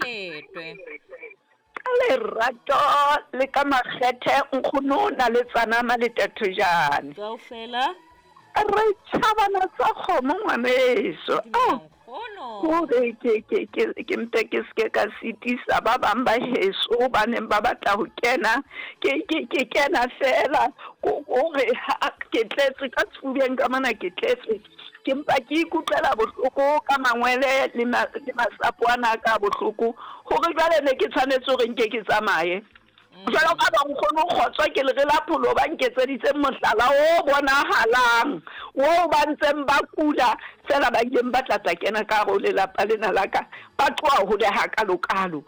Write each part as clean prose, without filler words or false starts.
Maletwe. Ka lerato le ka makgethe nkgono Naletsana Maletathojane. Kaofela. Re tšhabana tsa kgomo ngwaneso. Dumela nkgono. Hore ke ke ke ke mpe ke seke ka sitisa ba bang ba heso ba neng ba batla ho kena. Ke ke ke kena fela hore ke tletse ka sefubeng ka mona ke tletse. Ke mpa ke ikutlwela bohloko ka mangwele le masapo ana a ka a bohloko hore jwale ne ke tshwanetse hore nke ke tsamaye. Jwalo ka bonkgono Kgotso ke lere la pholo ba nketseditseng mohlala o bonahalang oo ba ntseng ba kula feela ba ileng ba tla tla kena ka hare ho lelapa lena la ka ba tloha hole hakalokalo.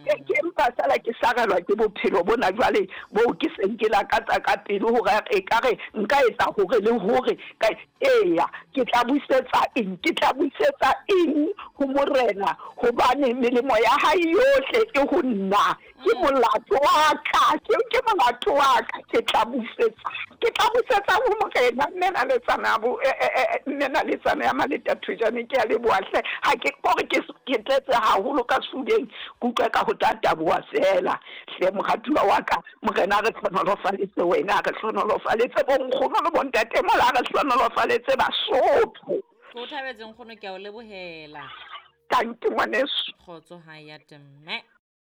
Ke mpa feela ke sarelwa ke bophelo bona jwale boo ke seng ke lakatsa ka pelo hore ekare nka etsa hore le hore ka Eya, ke tla busetsa eng? Ke tla busetsa eng ho Morena? Hobane melemo ya hae yohle e ho nna. Ke molato wa ka, ke, ke molato wa ka. Ke tla busetsa, ke tla busetsa ho Morena. Mme Naletsana bo, e, e, e, mme Naletsana ya Maleta Thojane, ke a leboha hle. Ha ke, kore ke, ke tletse haholo ka sefubeng, ke utlwa eka ho tla taboha feela. Hle moratuwa wa ka, Morena a re hlohonolofaletse wena, a re hlohonolofaletse bonkgono le bontatemoholo, a re hlohonolofaletse Basotho. Ke o thabetse nkgono, ke a o lebohela. Tanki ngwaneso. Kgotso ha ya temme.